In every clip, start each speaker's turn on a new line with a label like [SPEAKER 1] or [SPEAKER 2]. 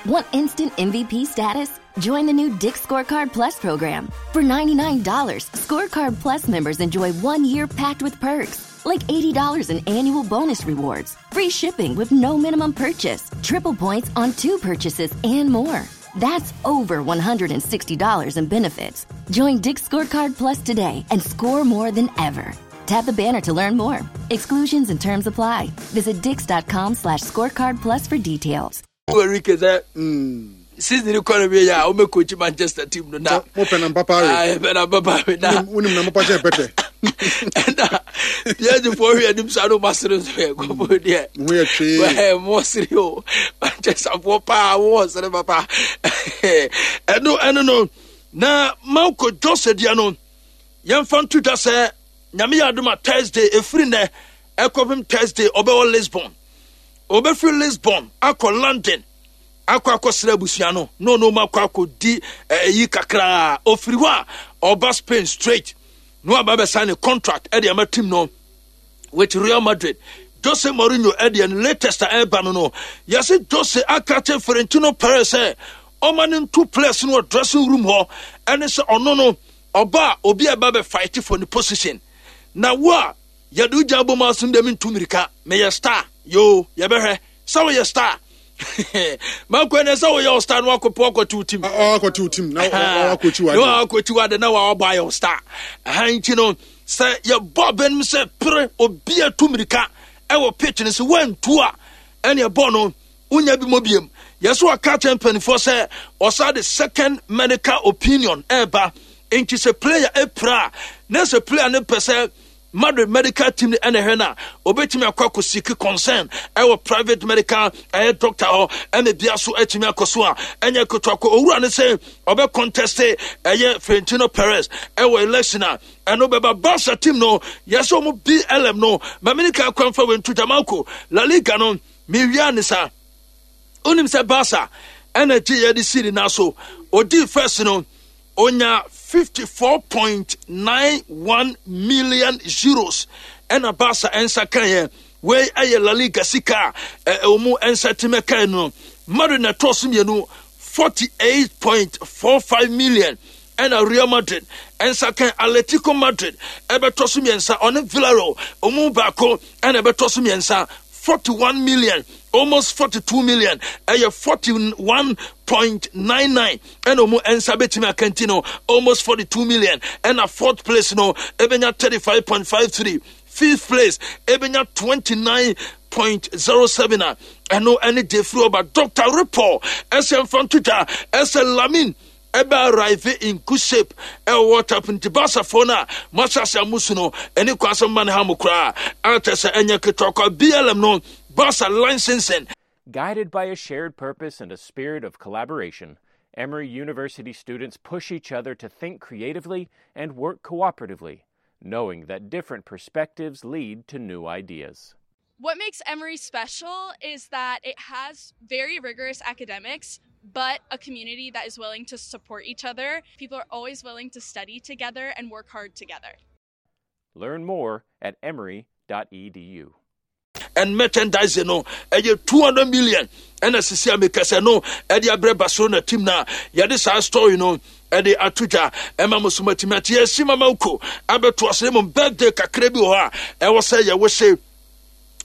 [SPEAKER 1] Want instant MVP status? Join the new Dick's Scorecard Plus program. For $99, Scorecard Plus members enjoy 1 year packed with perks, like $80 in annual bonus rewards, free shipping with no minimum purchase, triple points on two purchases, and more. That's over $160 in benefits. Join Dick's Scorecard Plus today and score more than ever. Tap the banner to learn more. Exclusions and terms apply. Visit dicks.com/scorecard plus for details.
[SPEAKER 2] Enrique sɛ season kɔ no wie yɛ a wɔbɛ coach Manchester team no na.
[SPEAKER 3] Mo pɛ na mpapa
[SPEAKER 2] awe. Ayi pɛ na mpapa awe na.
[SPEAKER 3] Wonim na mpapa kyɛn pɛtɛ.
[SPEAKER 2] Ɛna PSG fo hwɛ anim sa no ma sere nso yɛ kɔpɔ deɛ.
[SPEAKER 3] Mo yɛ twee.
[SPEAKER 2] Ɛɛ mo sere o, Manchester fo paa mo wɔ sere papa. Ɛno no na Marco Jose deɛ no yɛmfa nto dwa sɛ Nyame yɛ adom a, Thursday, ɛfiri nnɛ ɛkɔpem Thursday, ɔbɛwɔ Lisbon. Ɔbɛfiri Lisbon akɔ London akɔ akɔsra abusua no na ɔno mu akɔ akɔdi ɛyi kakraa. Ɔfiri hɔ a ɔba Spain straight na waba bɛsan ne contract ɛde ama team no with Real Madrid. Jose Mourinho ɛdeɛ no latest a ɛreba no, yɛse Jose aka kyerɛ Florentino Perez sɛ ɔma no nto players no wɔ dressing room hɔ, ɛne sɛ ɔno no ɔba a obi a ɛba bɛ fight for ne position, na wo a yɛde wo gya bɔ mu asom deɛ mentu mmirika, meyɛ star yoo. Yɛbɛhwɛ sɛ woyɛ star makɔ ɛnɛ sɛ woyɛ wo star na wakɔpɛ wakɔte wo team.
[SPEAKER 3] Wakɔte wo team na wakɔkyi wade.
[SPEAKER 2] Na wakɔkyi wade na wabɔ ayɛ wo star ɛha. Nti no sɛ yɛbɔ abɛnom sɛ pere obi atu mmirika ɛwɔ pitch no sɛ woantu a, ɛne ɛbɔ no wonya bi mɔ biem. Yɛsɛ wɔka kyerɛ mpanimfoɔ sɛ ɔsa de second medical opinion ɛreba, nti sɛ player apira a, na sɛ player no pɛ sɛ Madrid medical team no ɛna ɛhwɛ no a, obetumi akɔ akɔ seek concern ɛwɔ private medical ɛyɛ doctor hɔ, ɛna bia so atumi akɔ so a ɛnyɛ ketewa kɔ. Owura no sɛ ɔbɛ contest ɛyɛ Florentino Perez ɛwɔ election a ɛno bɛba. Barca team no, yɛsɛ wɔn BLM no maame kwan fa wɛntu Jamaica La Liga no mewia ne saa. Wonim sɛ Barca ɛna gye yɛde siri na so ɔdii first no onya €54.91 million ɛna Barca ɛnsa kaeɛ. Wei ɛyɛ La Liga sika a ɛwɔ mu ɛnsa timi kae no. Madrid na ɛtɔɔ so mmienu, 48.45 million, ɛna Real Madrid ɛnsa kan. Atletico Madrid ɛbɛtɔ so mmiɛnsa, ɔne Villarreal ɔmu baako ɛna ɛbɛtɔ so mmiɛnsa, 41 million, almost 42 million, ɛyɛ 41.99 ɛna ɔmu ɛnsa bɛtumi akanti no, almost 42 million. Ɛna fourth place no ɛbɛnya 35.53, fifth place ɛbɛnya 29.07 a ɛno ɛne Jeffrey ɔba. Dr Report ɛsɛ mfa nto dwa ɛsɛ Lamine ɛbɛ arrive in good shape ɛwɔ World Cup, nti Barcafoɔ no a moahyɛ ase amusu no ɛne kwan sɛ mma ne ha mo koraa akyɛ sɛ ɛnyɛ ketewa kwa. BLM no, Barca licensing.
[SPEAKER 4] Guided by a shared purpose and a spirit of collaboration, Emory University students push each other to think creatively and work cooperatively, knowing that different perspectives lead to new ideas.
[SPEAKER 5] What makes Emory special is that it has very rigorous academics, but a community that is willing to support each other. People are always willing to study together and work hard together.
[SPEAKER 4] Learn more at emory.edu.
[SPEAKER 2] And merchandising no ɛyɛ 200 million ɛna sisi a mekasɛ no ɛde abrɛ Barcelona team na yɛde saa story no ɛde ato dwa ɛma mo so matumi ate. Yɛsi mama ko abɛto ase mmom birthday kakra bi wɔ hɔ a ɛwɔ sɛ yɛwɔ hyɛ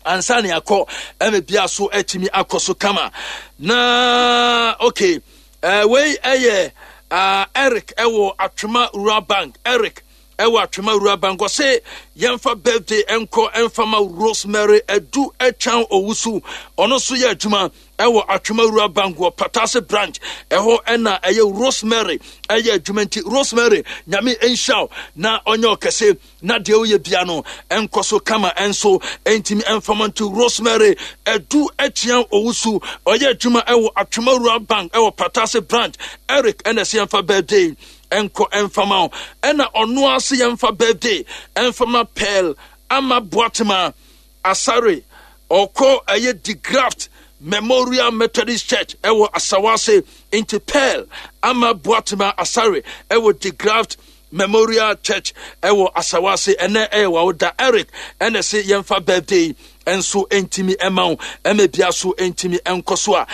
[SPEAKER 2] ansa ne akɔ ɛma bia so atumi akɔ so kama na okay. Wei ɛyɛ Eric ɛwɔ Atwema Rural Bank. Eric ɛwɔ Atwema Rural Bank ɔse yɛmfa birthday ɛnkɔ ɛmfa Rosemary Adu Ɛtwan Owusu. Ɔno nso yɛ adwuma ɛwɔ Atwema Rural Bank wɔ Patase branch ɛhɔ ɛna ɛyɛ Rosemary ɛyɛ adwuma. Nti Rosemary, Nyame nhyira na ɔnyɛ ɔkɛse na deɛ woyɛ bia no ɛnkɔ so kama ɛnso ɛntumi ɛmfama. Nti Rosemary Ɛdu Akyia Owusu ɔyɛ adwuma ɛwɔ Atwema Rural Bank ɛwɔ Patase branch. Eric ɛna ɛsɛ yɛmfa birthday ɛnkɔ ɛmfama wo, ɛna ɔno ase yɛmfa birthday ɛmfama Pearl Ama Boatema Asare. Ɔkɔ ɛyɛ DeGraft Memorial Methodist Church ɛwɔ Asawase. Nti Pearl Ama Boatema Asare ɛwɔ DeGraft Memorial Church ɛwɔ Asawase, ɛnɛ ɛyɛ wawoda. Eric ɛna ɛsɛ yɛmfa birthday ɛnso ɛntumi ɛma wo, ɛma bia so ɛntumi ɛnkɔ so a.